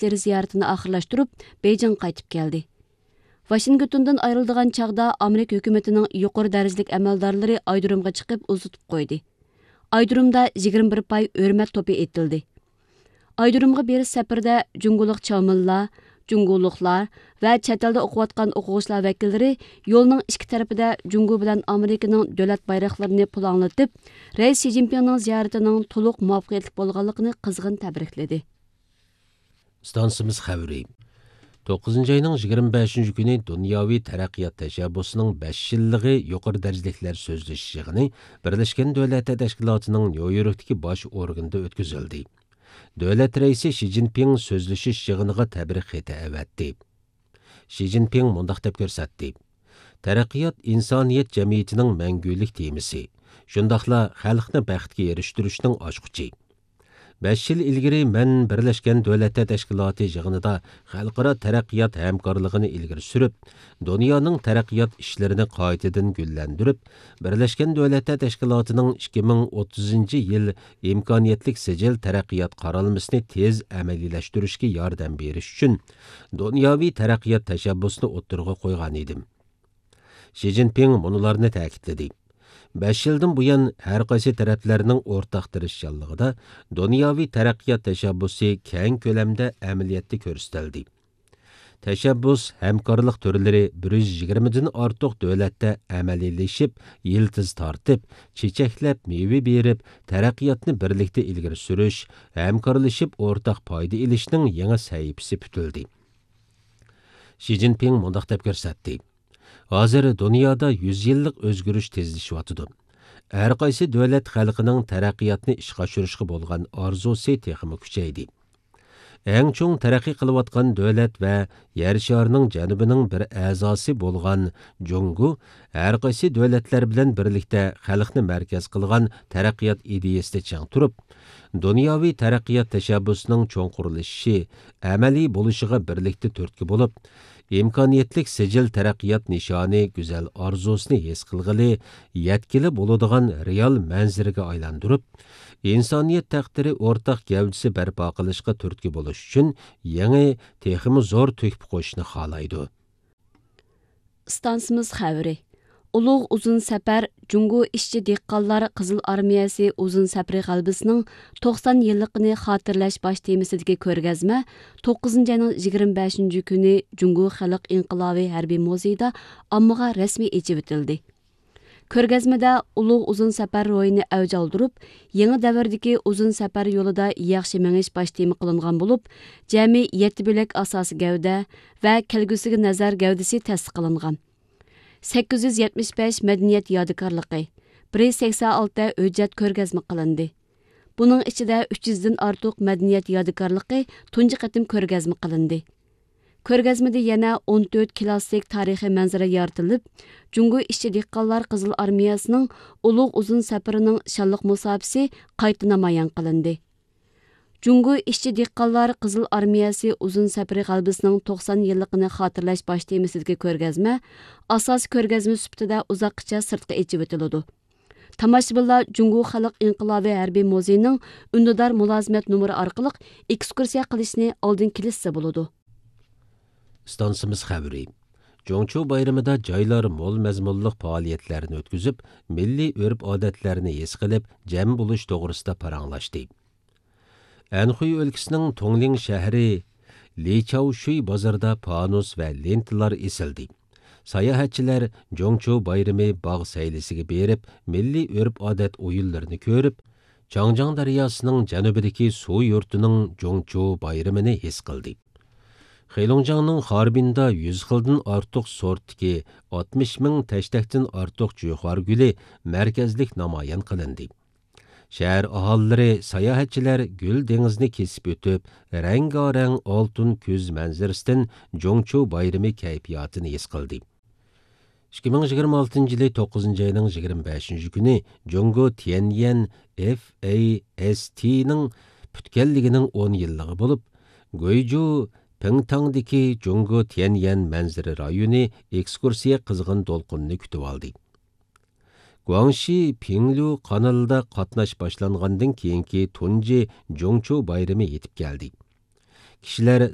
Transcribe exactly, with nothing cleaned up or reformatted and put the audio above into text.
ئىشلىرى زىيارىتىنى ئاخىرلاشتۇرۇپ، بېيجىڭغا قايتىپ كەلدى. ۋاشىنگتوندىن ئايرىلىدىغان چاغدا ئامېرىكا ھۆكۈمىتىنىڭ يۇقىرى دەرىجىلىك ئەمەلدارلىرى ئايرودرومغا چىقىپ ئۇزىتىپ قويدى. ئايرودرومدا يىگىرمە بىر پاي ھۆرمەت توپى ئېتىلدى. ئايرودرومغا بېرىش سەپىرىدە جۇڭگولۇق چاۋمىنلار، جۇڭگولۇقلار ۋە چەت ئەلدە ئوقۇۋاتقان ئوقۇغۇچىلار ۋەكىللىرى يولنىڭ ئىككى تەرىپىدە جۇڭگو بىلەن ئامېرىكىنىڭ دۆلەت بايراقلىرىنى پۇلاڭلىتىپ، رەئىس شى جىنپىڭنىڭ زىيارىتىنىڭ تولۇق مۇۋەپپەقىيەتلىك بولغانلىقىنى قىزغىن تەبرىكلىدى. ئىستانسىمىز خەۋىرى. توققۇزىنچى ئاينىڭ يىگىرمە بەشىنچى كۈنى دۇنياۋى تەرەققىيات تەشەببۇسىنىڭ بەش يىللىقى يۇقىرى دەرىجىلىكلەر سۆزلىشىش يىغىنى بىرلەشكەن دۆلەتلەر تەشكىلاتىنىڭ نيۇ يوركتىكى باش ئورگىنىدا ئۆتكۈزۈلدى. دۆلەت رەئىسى شى جىنپىڭ سۆزلىشىش يىغىنىغا تەبرىك خېتى ئەۋەتتى. شى جىنپىڭ مۇنداق دەپ كۆرسەتتى: تەرەققىيات ئىنسانىيەت جەمئىيىتىنىڭ مەڭگۈلۈك تېمىسى، شۇنداقلا خەلقنى بەختكە ئېرىشتۈرۈشنىڭ ئاچقۇچى. بەش يىل ئىلگىرى مەن بىرلەشكەن دۆلەتلەر تەشكىلاتى يىغىنىدا خەلقئارا تەرەققىيات ھەمكارلىقىنى ئىلگىرى سۈرۈپ، دۇنيانىڭ تەرەققىيات ئىشلىرىنى قايتىدىن گۈللەندۈرۈپ، بىرلەشكەن دۆلەتلەر تەشكىلاتىنىڭ ئىككى مىڭ ئوتتۇزىنچى يىل ئىمكانىيەتلىك سىجىل تەرەققىيات قارالمىسىنى تېز ئەمەلىيلەشتۈرۈشكە ياردەم بېرىش ئۈچۈن دۇنياۋى تەرەققىيات تەشەببۇسىنى ئوتتۇرىغا قويغان ئىدىم. شى جىنپىڭ مۇنۇلارنى تەكىتلىدى: بەش يىلدىن بۇيان، ھەر قايسى تەرەپلەرنىڭ ئورتاق تىرىشچانلىقىدا دۇنياۋى تەرەققىيات تەشەببۇسى كەڭ كۆلەمدە ئەمەلىيەتتە كۆرسىتىلدى. تەشەببۇس ھەمكارلىق تۈرلىرى بىر يۈز يىگىرمىدىن ئارتۇق دۆلەتتە ئەمەلىيلىشىپ، يىلتىز تارتىپ، چېچەكلەپ، مېۋە بېرىپ، تەرەققىياتنى بىرلىكتە ئىلگىرى سۈرۈش، ھەمكارلىشىپ ئورتاق پايدا ئېلىشنىڭ يېڭى سەھىپىسى پۈتۈلدى. شى جىنپىڭ مۇنداق دەپ كۆرسەتتى: ھازىر دۇنيادا يۈز يىللىق ئۆزگىرىش تېزلىشىۋاتىدۇ. ھەر قايسى دۆلەت خەلقىنىڭ تەرەققىياتنى ئىشقا ئاشۇرۇشقا بولغان ئارزۇسى تېخىمۇ كۈچەيدى. ئەڭ چوڭ تەرەققىي قىلىۋاتقان دۆلەت ۋە يەر شارىنىڭ جەنۇبىنىڭ بىر ئەزاسى بولغان جۇڭگو ھەر قايسى دۆلەتلەر بىلەن بىرلىكتە خەلقنى مەركەز قىلغان تەرەققىيات ئىدىيىسىدە چىڭ تۇرۇپ، دۇنياۋى تەرەققىيات تەشەببۇسىنىڭ چوڭقۇرلىشىشى، ئەمەلىي بولۇشىغا بىرلىكتە تۈرتكە بولۇپ، ئىمكانىيەتلىك سىجىل تەرەققىيات نىشانى گۈزەل ئارزۇسىنى ھېس قىلغىلى، يەتكىلى بولىدىغان رېئال مەنزىرىگە ئايلاندۇرۇپ، ئىنسانىيەت تەقدىرى ئورتاق گەۋدىسى بەرپا قىلىشقا تۈرتكە بولۇش ئۈچۈن يېڭى، تېخىمۇ زور تۆھپە قوشۇشنى خالايدۇ. ئىستانسىمىز خەۋىرى. ئۇلۇغ ئۇزۇن سەپەر، جۇڭگو ئىشچى دېھقانلار قىزىل ئارمىيەسى ئۇزۇن سەپىرى غەلىبىسىنىڭ توقسان يىللىقىنى خاتىرىلەش باش تېمىسىدىكى كۆرگەزمە توققۇزىنچى ئاينىڭ يىگىرمە بەشىنچى كۈنى جۇڭگو خەلق ئىنقىلابى ھەربىي مۇزېيىدا ئاممىغا رەسمىي ئېچىۋېتىلدى. كۆرگەزمىدە ئۇلۇغ ئۇزۇن سەپەر روھىنى ئەۋج ئالدۇرۇپ، يېڭى دەۋردىكى ئۇزۇن سەپەر يولىدا ياخشى مېڭىش باش تېما قىلىنغان بولۇپ، جەمئىي يەتتە بۆلەك ئاساسىي گەۋدە ۋە كەلگۈسىگە نەزەر گەۋدىسى تەسىس قىلىنغان. سەككىز يۈز يەتمىش بەش مەدەنىيەت يادىكارلىقى، بىر يۈز سەكسەن ئالتە ھۆججەت كۆرگەزمە قىلىندى. بۇنىڭ ئىچىدە ئۈچ يۈزدىن ئارتۇق مەدەنىيەت يادىكارلىقى تۇنجى قېتىم كۆرگەزمە قىلىندى. كۆرگەزمىدە يەنە ئون تۆت كلاسسىك تارىخىي مەنزىرە يارىتىلىپ، جۇڭگو ئىشچى دېھقانلار قىزىل ئارمىيەسىنىڭ ئۇلۇغ ئۇزۇن سەپىرىنىڭ شانلىق مۇساپىسى قايتا نامايان قىلىندى. جۇڭگو ئىشچى دېھقانلار قىزىل ئارمىيەسى ئۇزۇن سەپىرى غەلىبىسىنىڭ توقسان يىللىقىنى خاتىرىلەش باش تېمىسىدىكى كۆرگەزمە ئاساسىي كۆرگەزمە سۈپىتىدە ئۇزاققىچە سىرتقا ئېچىۋېتىلىدۇ. تاماشىبىنلار جۇڭگو خەلق ئىنقىلابى ھەربىي مۇزېيىنىڭ ئۈندىدار مۇلازىمەت نومۇرى ئارقىلىق ئېكسكۇرسىيە قىلىشنى ئالدىن كېلىشسە بولىدۇ. ئىستانسىمىز خەۋىرى. جۇڭچۇ بايرىمىدا جايلار مول مەزمۇنلۇق پائالىيەتلەرنى ئۆتكۈزۈپ، مىللىي ئۆرپ-ئادەتلەرنى ھېس قىلىپ، جەم بولۇش توغرىسىدا پاراڭلاشتى. ئەنخۇي ئۆلكىسىنىڭ تۇڭلىڭ شەھىرى لىچاۋشۈي بازىرىدا پانۇس ۋە لېنتىلار ئېسىلدى. ساياھەتچىلەر جۇڭچۇ بايرىمى باغ سەيلىسىگە بېرىپ، مىللىي ئۆرپ-ئادەت ئويۇنلىرىنى كۆرۈپ، چاڭجياڭ دەرياسىنىڭ جەنۇبىدىكى سۇ يۇرتىنىڭ جۇڭچۇ بايرىمىنى ھېس قىلدى. خېلۇڭجياڭنىڭ خاربىندا يۈز خىلدىن ئارتۇق سورتتىكى ئاتمىش مىڭ تەشتەكتىن ئارتۇق جۆخار گۈلى مەركەزلىك نامايان قىلىندى. شەھەر ئاھالىلىرى، ساياھەتچىلەر گۈل دېڭىزىنى كېسىپ ئۆتۈپ، رەڭگارەڭ ئالتۇن كۈز مەنزىرىسىدىن جۇڭچۇ بايرىمى كەيپىياتىنى ھېس قىلدى. ئىككى مىڭ يىگىرمە ئالتىنچى يىلى توققۇزىنچى ئاينىڭ يىگىرمە بەشىنچى كۈنى جۇڭگو تيەنيەن ئېف ئەي ئېس تىنىڭ پۈتكەنلىكىنىڭ ئون يىللىقى بولۇپ، گۇيجۇ پىڭتاڭدىكى جۇڭگو تيەنيەن مەنزىرە رايونى ئېكسكۇرسىيە قىزغىن دولقۇننى كۈتۈۋالدى. گۇاڭشى پىڭلۈ قانىلىدا قاتناش باشلانغاندىن كېيىنكى تۇنجى جۇڭچۇ بايرىمى يېتىپ كەلدى. كىشىلەر